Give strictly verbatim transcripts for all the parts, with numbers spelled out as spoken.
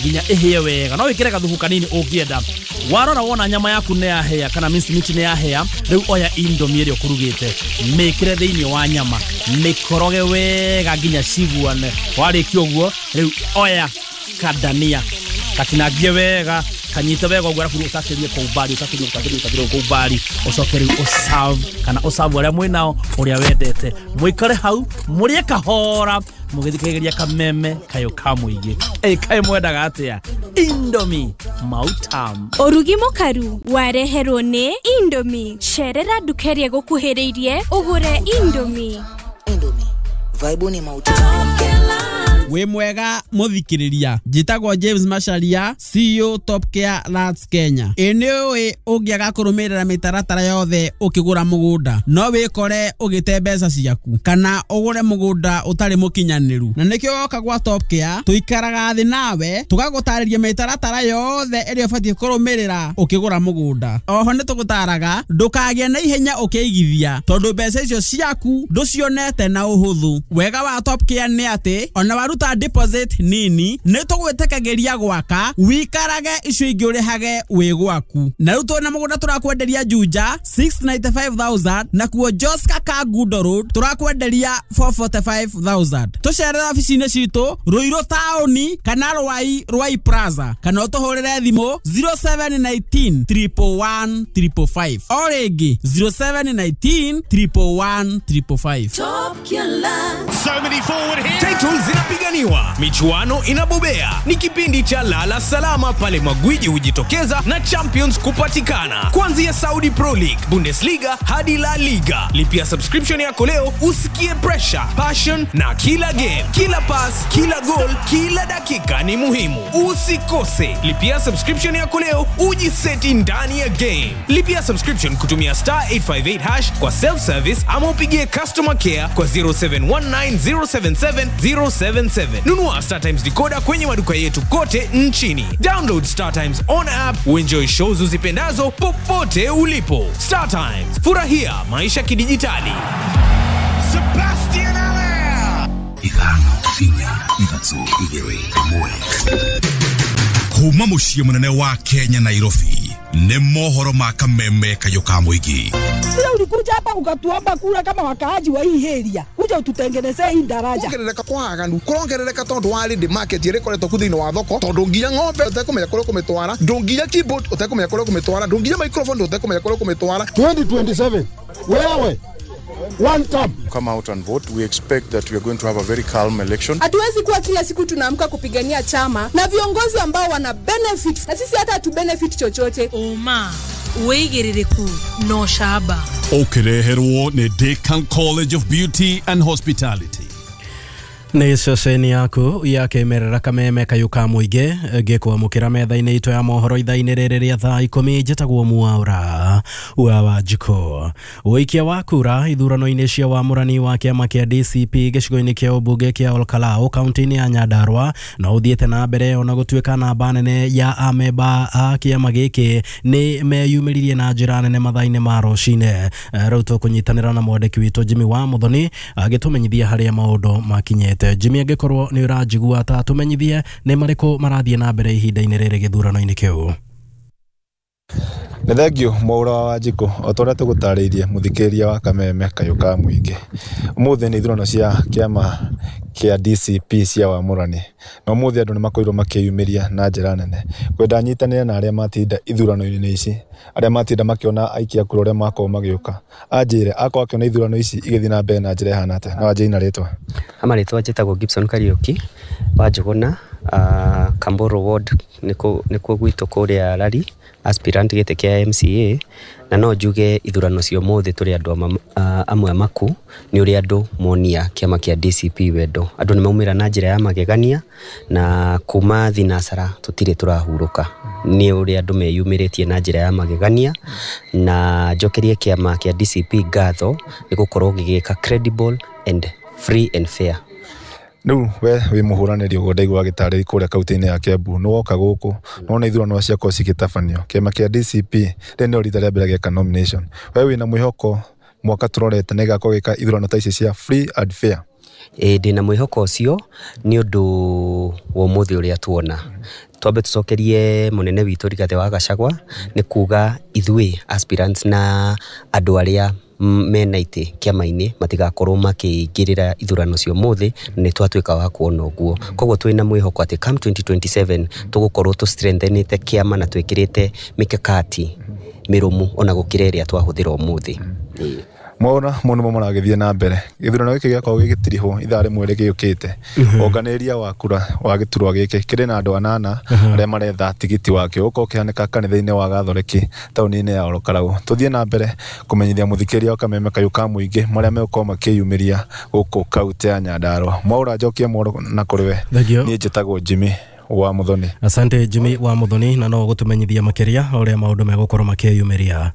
Nginya ĩhĩe wega. No wĩkĩre gathubu kanini ũngĩenda. Warora wona nyama yaku nĩ yahĩa kana mince meat nĩ yahĩa, rĩu oya Indomie ĩrĩa ũkũrugĩte, mĩkĩre thĩinĩ wa nyama, mĩkoroge wega nginya ciguane. Warĩkia ũguo, rĩu oya kadania katinangie wega, kanyite wega ũguo, arabu ũtakĩrie kwa umbali, ũtakĩrie, ũtakĩrie, ũtakĩrie kwa umbali, ũcoke rĩu ũserve kana ũserve arĩa mwĩnao ũrĩa wendete. Mũikare hau mũrĩe kahora mũgĩthikĩrĩria Kameme Kayũ ka Mũingĩ. Ĩ kaĩ mwendaga atĩa? Indomie mautam. Ũrugi mũkaru wareherwo nĩ Indomie. Cerera nduka ĩrĩa ĩgũkuhĩrĩirie ũgũre Indomie. Indomie vibe ni mauti. Wĩ mwega mũthikĩrĩria, njĩtagwo James Macharia, C E O Top Care Lands Kenya. Ĩ nĩ ũĩ ũngĩaga kũrũmĩrĩra mĩtaratara yothe ũkĩgũra mũgũnda no wĩkore ũgĩte mbeca ciaku kana ũgũre mũgũnda ũtarĩ mũkinyanĩru, na nĩkĩo woka gwa Top Care tũikaraga thĩ nawe tũgagũtarĩria mĩtaratara yothe ĩrĩa ũbatiĩ kũrũmĩrĩra ũkĩgũra mũgũnda. Oho nĩ tũgũtaraga ndũkagĩe na ihenya ũkĩigithia tondũ mbeca icio ciaku ndũcionete na ũhũthũ. Wega wa Top Care nĩ atĩ ona waruta deposit nini nĩ tũgwĩtĩkagĩria gwaka wikarage icio ingĩ ũrĩhage wĩ gwaku. Na rĩu twĩna mũgũnda tũrakwenderia Juja six hundred ninety-five thousand, nakuo Joska Kangundo Road tũrakwenderia four hundred forty-five thousand. Tũcerere obici-inĩ citũ Ruiru taũni kana Rwai, Rwai Plaza, kana ũtũhũrĩre thimũ zero seven one nine triple one triple five. O rĩngĩ, zero seven one nine triple one triple five. So many forward here. Title zinapiganiwa, michuano inabobea. Ni kipindi cha Lala Salama pale magwiji hujitokeza na champions kupatikana. Kuanzia Saudi Pro League, Bundesliga hadi La Liga. Lipia subscription yako leo usikie pressure, passion na kila game, kila pass, kila goal, kila dakika ni muhimu. Usikose. Lipia subscription yako leo ujiseti ndani ya game. Lipia subscription kutumia star eight five eight hash kwa self service ama upigie customer care kwa zero seven one nine zero seven seven zero seven seven. Nunua Star Times decoder kwenye maduka yetu kote nchini. Download Star Times on app uenjoy shows uzipendazo popote ulipo. Star Times, furahia maisha kidijitali. Sebastian Allaire. Ithano, inya, ithatũ, igĩrĩ, ĩmwe. Kuma mũciĩ mũnene wa Kenya, Nairobi, nĩ mohoro ma Kameme Kayũ ka Mũingĩ. Sasa ulikuja hapa ukatuomba kura kama wakaaji wa hii area, kuja ututengenezee hii daraja. Kuongerereka kwa aganu kurongerereka tondu wa ready market ĩrĩa ĩkoretwo ku thĩinĩ wa thoko, tondu nginya ng'ombe ũtekũmenya kũrĩa ũkũmĩtwara, ndũnginya keyboard ũtekũmenya kũrĩa ũkũmĩtwara, ndũnginya microphone ũtekũmenya kũrĩa ũkũmĩtwara. twenty twenty-seven, wewe one term. Come out and vote. We expect that we are going to have a very calm election. Hatuwezi kuwa kila siku tunaamka kupigania chama na viongozi ambao wana benefit na sisi hata hatu benefit chochote. Ũma, wĩigĩrĩrĩku na ũcamba. Ũkĩreherwo nĩ Decan College of Beauty and Hospitality. Nĩ ceceni yaku ya kĩmerera Kameme Kayũ ka Mũingĩ, ngĩkwamũkĩra metha-inĩ itũ ya mohoro ithaa-inĩ rĩrĩ rĩa thaa ikũmi. Njĩtagwo Mwaũra wa Wanjikũ. Ũikia wa kura ithurano-inĩ cia wamũrani wa kĩama kĩa D C P gĩcigo-inĩ kĩa ũmbunge kĩa Olkalou kaunti-inĩ ya Nyandarua no ũthiĩte na mbere ona gũtuĩka namba nene ya amemba a kĩama gĩkĩ nĩ meyumĩririe na njĩra nene mathaa-inĩ ma rũcinĩ. Rĩu tũkũnyitanĩra na mwandĩki witũ Jimmy wa Muthoni agĩtũmenyithia harĩa maũndũ makinyĩte. Jimmy, angĩkorwo nĩ ũranjigua, ta tũmenyithie nĩ marĩkũ marathiĩ na mbere ihinda-inĩ rĩrĩ gĩthurano-inĩ kĩu. Nĩ thengio, Mwaũra wa Wanjikũ. O ta ũrĩa tũgũtarĩirie mũthikĩrĩria wa Kameme Kayũ ka Mũingĩ, ũmũthĩ nĩ ithurano cia kĩama kĩa D C P cia wamũrani, na ũmũthĩ andũ nĩ makorirwo makĩyumĩria na njĩra nene kwenda nyitanĩre na arĩa matinda ithurano-inĩ ici, arĩa matinda makĩona aikia a kura ũrĩa makorwo magĩũka. Anjĩre akorwo akĩona ithurano ici igĩthiĩ na mbere na njĩra ĩhana atĩa, no anjĩre na rĩtwa. Marĩtwa njĩtagwo Gibson Kariũki wa Njũgũna, uh, Kamburu Ward nĩkuo gwitũ kũrĩa Lari, aspirant gĩtĩ kĩa M C A, na no njuge ithurano cia ũmũthĩ tũrĩ andũ amwe amaku nĩ ũrĩa andũ monia kĩama kĩa D C P wendo. Andũ nĩ maumĩra na njĩra ya magegania na kuma thinacara tũtirĩ tũrahurũka nĩ ũrĩa andũ meyumĩrĩtie na njĩra ya magegania, na njokerie kĩama kĩa D C P ngatho nĩ gũkorwo gĩgĩka credible and free and fair. Rĩu we wĩ mũhũranĩri, ũguo ndaigua agĩtarĩria kũrĩa kaunti-inĩ ya Kiambu, nĩ woka gũkũ nona ithurano ciakorwo cigĩtabanio, kĩama kĩa D C P rĩrĩ nĩrĩo rita rĩa mbere gĩeka nomination. We wĩna mwĩhoko mwaka tũrorete nĩ gĩgakorwo gĩka ithurano ta ici cia free and fair? Ĩĩ ndĩna mwĩhoko ũcio nĩ ũndũ wa ũmũthĩ ũrĩa tuona. Twambe tũcokerie mũnene witũ Rigathĩ wa Gachagua nĩ kuga ithuĩ aspirants na andũ arĩa mena itĩ kĩama-inĩ matigakorwo makĩingĩrĩra ithurano cia ũmũthĩ, na nĩ twatuĩka wa kuona ũguo. Koguo twĩna mwĩhoko atĩ come twenty twenty-seven tũgũkorwo tũ strengthenĩte kĩama na twĩkĩrĩte mĩkakati mĩrũmu ona gũkĩra ĩrĩa twahũthĩra ũmũthĩ. Mwaona mũno nĩmo maragĩthiĩ na mbere. Gĩthurano gĩkĩ gĩakorwo gĩgĩtirihwo ithaa rĩmwe rĩgĩũkĩte. Ũnganĩria wa kura wa gĩturwa gĩkĩ kĩrĩ na andũ anana arĩa maretha tigiti wakĩo ũkorwo ũkĩhanĩka kanitha-inĩ wa Gatholeki taũni-inĩ ya Orokarau. Tũthiĩ na mbere kũmenyithia mũthikĩria wa Kameme Kayũ ka Mũingĩ marĩa megũkorwo makĩyumĩria gũkũ kaunti ya Nyandarua. Mwaũra njokie mworo na kũrĩ we. Niĩ njĩtagwo Jimmy wa Muthoni. Asante Jimmy wa Muthoni, na no gũtũmenyithia makĩria ũrĩa maũndũ megũkorwo makĩyumĩria.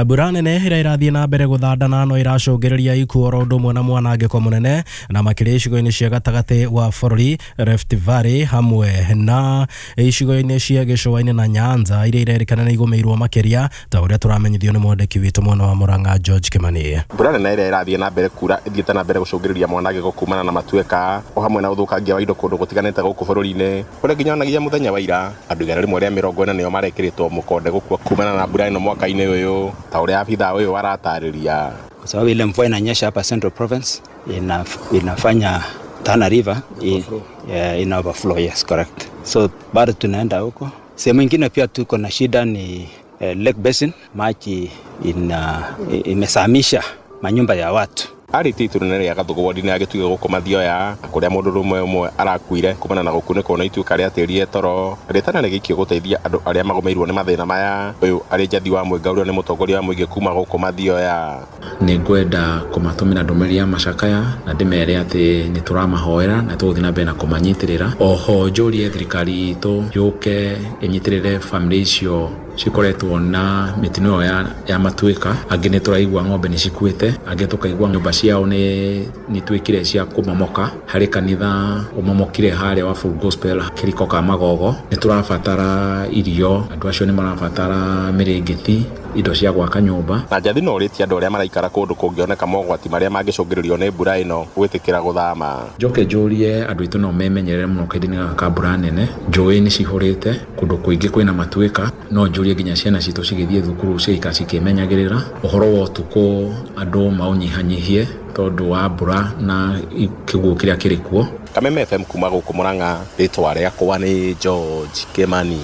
Mbura nene ĩrĩa ĩrathiĩ na mbere gũthandana no ĩracũngĩrĩria ikuũ oro ũndũ ũmwe na mwanangĩko mũnene na makĩria icigo-inĩ cia gatagatĩ wa bũrũri, Rift Valley hamwe na icigo-inĩ cia gĩcũa-inĩ na Nyanza iria irerĩkana nĩ igũmĩirwo makĩria ta ũrĩa tũramenyithio nĩ mwandĩki witũ mwena wa Murang'a George Kimani. Mbura nene ĩrĩa ĩrathiĩ na mbere kura ĩthiĩte na mbere gũcũngĩrĩria mwanangĩko kumana na matuĩka o hamwe na ũthũkangia wa indo kũndũ gũtiganĩte gũkũ bũrũri-inĩ kũrĩa nginya onagia mũthenya wa ira andũ igana rĩmwe rĩa mĩrongo ĩna nĩo marekĩrĩtwo mũkonde gũkua kumana na mbura ĩno mwaka-inĩ ũyũ ta ũrĩa abithaa ũyũ aratarĩria. Kwa sababu ile mvua inanyesha hapa Central Province ina, inafanya Tana River in, yeah, ina overflow, yes correct. So bado tunaenda huko. Sehemu nyingine pia tuko na shida ni eh, Lake Basin, maji ina imesamisha manyumba ya watu. Arĩ itũra rĩa Gathugu wodi-inĩ ya Gĩtugĩ gũkũ Mathioya kũrĩa mũndũ ũmwe ũmwe arakuire kumana na gũkunĩkwo na ituĩka rĩa tĩri toro rĩtana rĩgĩikio gũteithia andũ arĩa magũmĩirwo nĩ mathĩna maya. Ũyũ arĩ Njathi wa Mwĩnga ũrĩa nĩ mũtongoria wa mũingĩ kuma gũkũ Mathioya. Nĩ ngwenda kũmatũmĩra ndũmĩrĩri ya macakaya na ndĩmere atĩ nĩ tũramahoera na tũgũthiĩ na mbere na kũmanyitĩrĩra. Oho njũrie thirikari itũ yũke ĩnyitĩrĩre bamĩrĩ icio cikoretwo na mĩtino ĩyo ya, ya matuĩka. Angĩ nĩ tũraigua ng'ombe nĩ cikuĩte, angĩ tũkaigua nyũmba ciao nĩ nĩituĩkire cia kũmomoka. Harĩ kanitha ũmomokire harĩa wa Full Gospel kĩriko ka Magogo. Nĩ tũrabatara irio, andũ acio nĩ marabatara mĩrĩngĩti, indo cia gwaka nyũmba. Na Njathi no ũrĩtie andũ arĩa maraikara kũndũ kũngĩoneka mogwati marĩa mangĩcũngĩrĩrio nĩ mbura ĩno gwĩtĩkĩra gũthama. Njoke njũrie andũ aitũ no memenyerere mũno kahinda-inĩ gaka ka mbura nene. Njũĩ nĩ cihũrĩte, kũndũ kũingĩ kwĩna matuĩka. No njũrie nginya ciana citũ cigĩthiĩ thukuru cigaikara cikĩmenyagĩrĩra. Ũhoro wa ũtukũ andũ maũnyihanyihie tondũ wa mbura na kĩguũ kĩrĩa kĩrĩ kuo. Kameme F M kuma gũkũ Murang'a, rĩtwa rĩakwa nĩ George Kimani.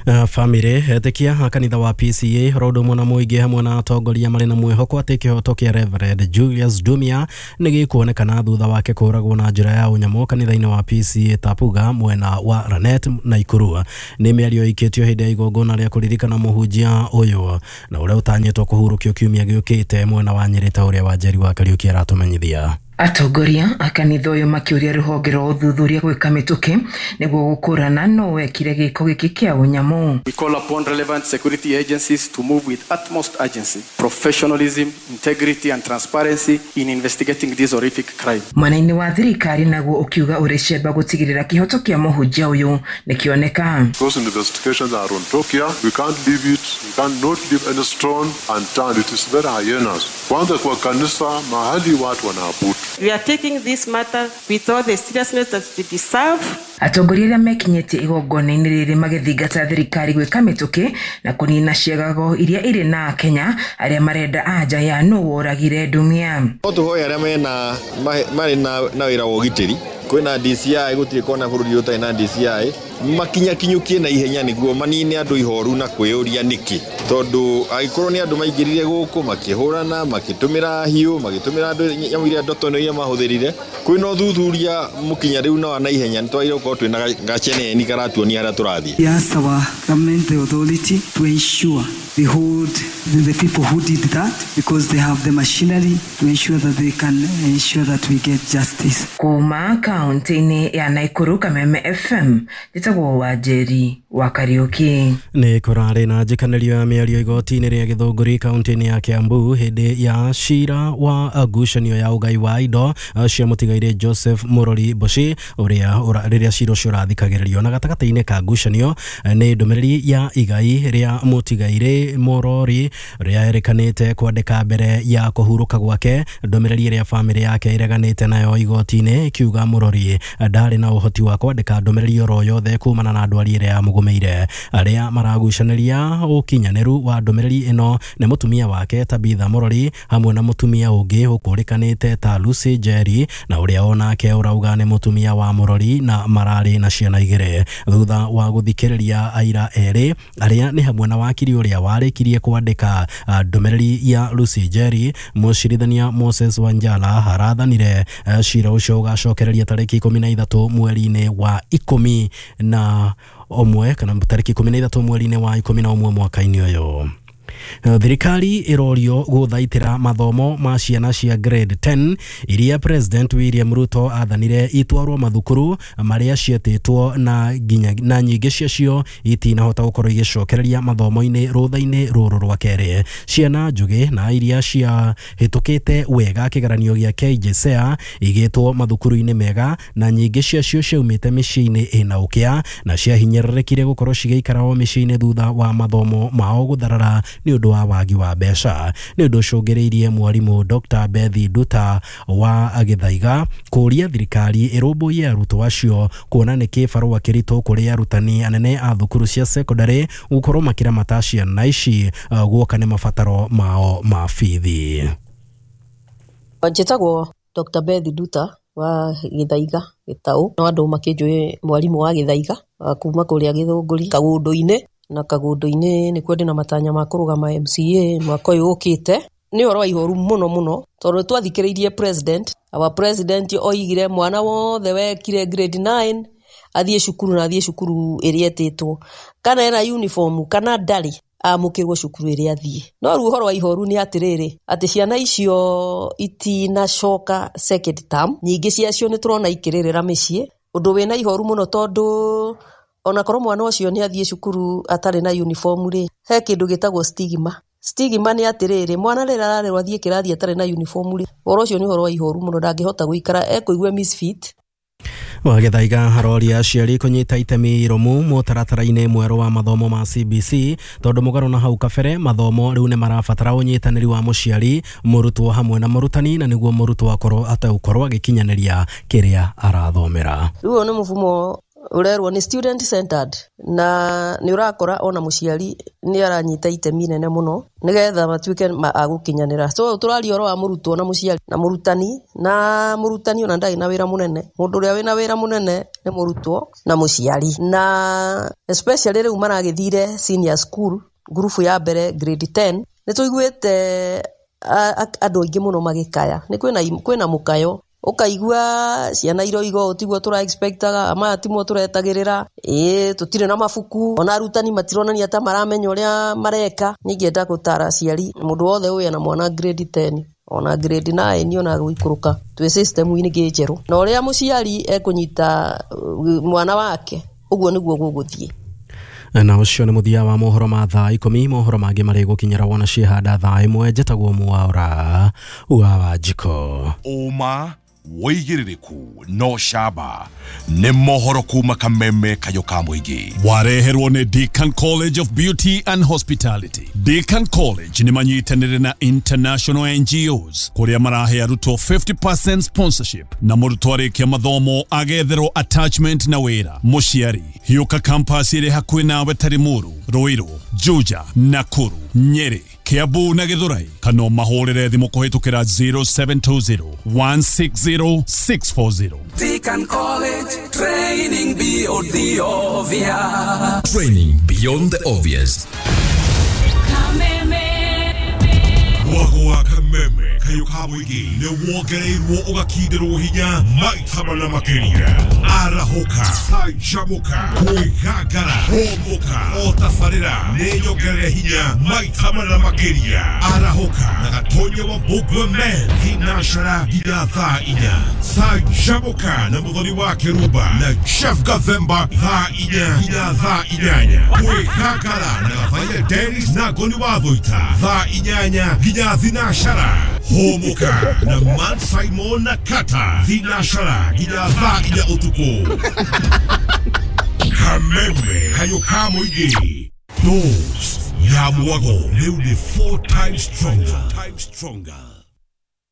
Uh, famĩlĩ etĩkia kanitha wa P C A oro ũndũ ũmwe na mũingĩ hamwe na atongoria marĩ na mwĩhoko atĩ kĩhoto kĩa Reverend Julius Dumia nĩ gĩkuonekana thutha wake kũũragwo na njĩra ya ũnyamũ kanitha-inĩ wa P C A Tapuga mwena wa Lanet Naikuru. Nĩ mĩario ĩikĩtio hĩndĩ ya igongona rĩa kũririkana mũhunjia ũyũ na ũrĩa ũtanyĩtwo kũhurũkio kiumia gĩũkĩte mwena wa Nyĩrĩ ta ũrĩa Wanjeri wa Kariũki aratũmenyithia. Atongoria a kanitha ũyũ makĩũria rũhonge rwa ũthuthuria gwĩka mĩtũkĩ nĩguo gũkũrana no wekire gĩko gĩkĩ kĩa ũnyamũ. We call upon relevant security agencies to move with utmost urgency, professionalism, integrity and transparency in investigating this horrific crime. Mwena-inĩ wa thirikari naguo ũkiuga ũrĩ cemba gũtigĩrĩra kĩhoto kĩa mũhunjia ũyũ nĩkĩoneka. Those investigations are on top here. We can't leave it. We can't not leave any stone unturned. It is very hyenas. Kwanza kwa kanisa mahali watu wanaabudu. We are taking this matter with all the seriousness that it deserves. Atongoria arĩa mekinyĩtie igongona-inĩ rĩrĩ magĩthingata thirikari gwĩka mĩtũkĩ na kũnina ciagago iria irĩ na Akenya arĩa marenda anja ya nũ woragire Ndumia. No tũhoe arĩa mena marĩ na wĩra wa ũgitĩri, kwĩna D C I, gũtirĩ kona bũrũri ũtarĩ na D C I, makinyakinyũkie na ihenya nĩguo manine andũ ihoru na kwĩyũria nĩkĩ, tondũ angĩkorwo nĩ andũ maingĩrire gũkũ makĩhũrana, makĩtũmĩra hiũ, magĩtũmĩra andũ nyamũ iria ndotono iria mahũthĩrire, kwĩna ũthuthuria mũkinya rĩu na wa na ihenya nĩ twagĩrĩirwo gũkorwo twĩna gaceneni karatuonia harĩa tũrathiĩ. We ask our government, the authority, to ensure they hold the people who did that because they have the machinery to ensure that they can ensure that we get justice. Kuma kaunti-inĩ ya Naikuru. Kameme F M njĩtagwo Wanjeri wa Kariuki. Nĩ kũrarĩ na njĩkanĩrio ya mĩario igoti-inĩ rĩa Gĩthũngũri kaunti-inĩ ya Kiambu hĩndĩ ya cira wa ngucanio ya ũgai wa indo cia mũtigairĩ Joseph Murori Mboci ũrĩa rĩrĩa cira ũcio ũrathikagĩrĩrio. Na gatagatĩ-inĩ ka ngucanio nĩ ndũmĩrĩri ya igai rĩa mũtigairĩ Murori rĩa erĩkanĩte kwandĩka mbere ya kũhurũka gwake, ndũmĩrĩri ĩrĩa bamĩrĩ yake ĩreganĩte nayo igoti-inĩ ikiuga Murori ndarĩ na ũhoti wa kwandĩka ndũmĩrĩri oro yothe kumana na ndwari ĩrĩa yamũgũmĩire. Arĩa maragucanĩria ũkinyanĩru wa ndũmĩrĩri ĩno nĩ mũtumia wake Tabitha Murori hamwe na mũtumia ũngĩ ũkũrĩkanĩte ta Lucy Njeri na ũrĩa onake ũrauga nĩ mũtumia wa Murori na mararĩ na ciana igĩrĩ. Thutha wa gũthikĩrĩria aira erĩ arĩa nĩ hamwe na wakiri ũrĩa warĩkirie kwandĩka ndũmĩrĩri ya Lucy Njeri, mũcirithania Moses Wanjala arathanire cira ũcio ũgacokereria tarĩki ikũmi na ithatũ mweri-inĩ wa ikũmi na ũmwe kana tarĩki ikũmi na ithatũ mweri-inĩ wa ikũmi na ũmwe mwaka-inĩ ũyũ. Thirikari ĩrorio gũthaitĩra mathomo ma ciana cia grade ten iria President William Ruto athanire itwarwo mathukuru marĩa cietĩtwo na nginya na nyingĩ ciacio itinahota gũkorwo igĩcokereria mathomo-inĩ rũtha-inĩ rũrũ rwa kerĩ. Ciana njũgĩ na iria ciahĩtũkĩte wega kĩgeranio gĩa K J S E A igĩtwo mathukuru-inĩ mega na nyingĩ ciacio ciaumĩte mĩciĩ-inĩ ĩna ũkĩa na ciahinyĩrĩrĩkire gũkorwo cigĩikara o mĩciĩ-inĩ thutha wa mathomo mao gũtharara nĩ ũndũ wa wagi wa mbeca. Nĩ ũndũ ũcũngĩrĩirie mwarimũ Doctor Bethi Nduta wa Gĩthaiga kũũria thirikari ĩrũmbũiye arutwo acio kuona nĩ kĩbarũa kĩritũ kũrĩ arutani anene a thukuru cia secondary gũkorwo makĩramata ciana ici guoka nĩ mabataro mao ma bithi. Njĩtagwo Doctor Bethi Nduta wa Gĩthaiga Gĩtaũ, no andũ makĩnjũĩ mwarimũ wa Gĩthaiga kuma kũrĩa Gĩthũngũri Kagũndũ-inĩ, na Kagũndũ-inĩ nĩkuo ndĩna matanya ma kũrũgama M C A mwaka ũyũ ũkĩte. Nĩ ũhoro wa ihoru mũno mũno tondũ twathikĩrĩirie president, our president oigire mwana wothe wekire grade nine athiĩ cukuru na athiĩ cukuru ĩrĩa etĩtwo, kana ena uniform kana ndarĩ amũkĩrwo cukuru ĩrĩa athiĩ. No rĩu ũhoro wa ihoru nĩ atĩrĩrĩ atĩ ciana icio itinacoka second term, nyingĩ ciacio nĩ tũrona ikĩrĩrĩra mĩciĩ, ũndũ wĩna ihoru mũno tondũ onakorwo mwana ũcio nĩ athiĩ cukuru atarĩ na uniform rĩ, he kĩndũ gĩtagwo stigma. Stigma nĩ atĩrĩrĩ mwana rĩrĩa ararerwo athiĩ kĩrathi atarĩ na uniform rĩ, ũhoro ũcio nĩ ũhoro wa ihoru mũno, ndangĩhota gũikara ekũigua misfit. Wagĩthaiga aroria aciari kũnyita itemi irũmu mũtaratara-inĩ mwerũ wa mathomo ma C B C tondũ mũgarũ na hau kabere mathomo rĩu nĩ marabatara ũnyitanĩri wa mũciari, mũrutwo hamwe na mũrutani, na nĩguo mũrutwo akorwo ategũkorwo agĩkinyanĩria kĩrĩa arathomera. Rĩu ũyũ nĩ mũfumo ũrerwo nĩ student centered na nĩ ũrakora ona mũciari nĩ aranyita itemi nene mũno nĩgetha matuĩke a gũkinyanĩra. So tũraria ũhoro wa mũrutwo na mũciari na mũrutani, na mũrutani ona ndarĩ na wĩra mũnene. Mũndũ ũrĩa wĩna wĩra mũnene nĩ mũrutwo na mũciari, na especially rĩu maragĩthire senior school ngurubu ya mbere grade ten nĩ tũiguĩte andũ aingĩ mũno magĩkaya, nĩ kwĩna kwĩna mũkayo ukaigua ciana iroiga ũũ tiguo tũra expectaga, ama timo tũretagĩrĩra, ĩĩ tũtirĩ na mabuku, ona arutani matironania ta maramenya ũrĩa mareka. Ningĩenda gũtara aciari mũndũ wothe ũyũ ena mwana grade ten ona grade nine ona gũikũrũka twĩ system-inĩ ĩngĩ njerũ, na ũrĩa mũciari ekũnyita mwana wake ũguo nĩguo gũgũthiĩ. Na ũcio nĩ mũthia wa mohoro ma thaa ikũmi. Mohoro mangĩ marĩ gũkinyĩra wona ciehanda thaa ĩmwe. Njĩtagwo Mwaura wa Wanjikũ. Ũma wĩigĩrĩrĩku no camba nĩ mohoro kuma Kameme kayũ ka mũingĩ. Wareherwo nĩ Deacon College of Beauty and Hospitality. Deacon College nĩ manyitanĩire na international N G Os kũrĩa marahe arutwo fifty percent sponsorship na mũrutwo arĩkia mathomo agetherwo attachment na wĩra. Mũciari hiũka campus ĩrĩ hakuhĩ nawe ta Limuru, Ruiru, Juja, Nakuru, Nyeri, Kiambu na Githurai, kana mahũrĩre thimũ kũhĩtũkĩra zero seven two zero one six zero six four zero. Deacon College, training beyond the obvious. Training beyond the obvious. Mwago wa Kameme kayũ ka mũingĩ nĩ wongereirwo ũgakindĩrwo hinya maita mana makĩria. Arahũka. Canjamuka Kwĩgangara Hũmũka o tabarĩra nĩ nyongerere hinya maita mana makĩria. Arahũka na Gatonya wa Mbũngwe Men thinacara nginya thaa inya. Canjamuka na Mũthoni wa Kĩrumba na Jeff Gathemba thaa inya nginya thaa inyanya. Kwĩgangara na Gathaiya Dennis na Ngoni wa Thũita thaa inyanya nginya thinacara. Hũmũka na Matt Simon na Kata thinacara nginya thaa inya ũtukũ. Kameme kayũ ka mũingĩ. Dose ya mwago rĩu nĩ four times stronger.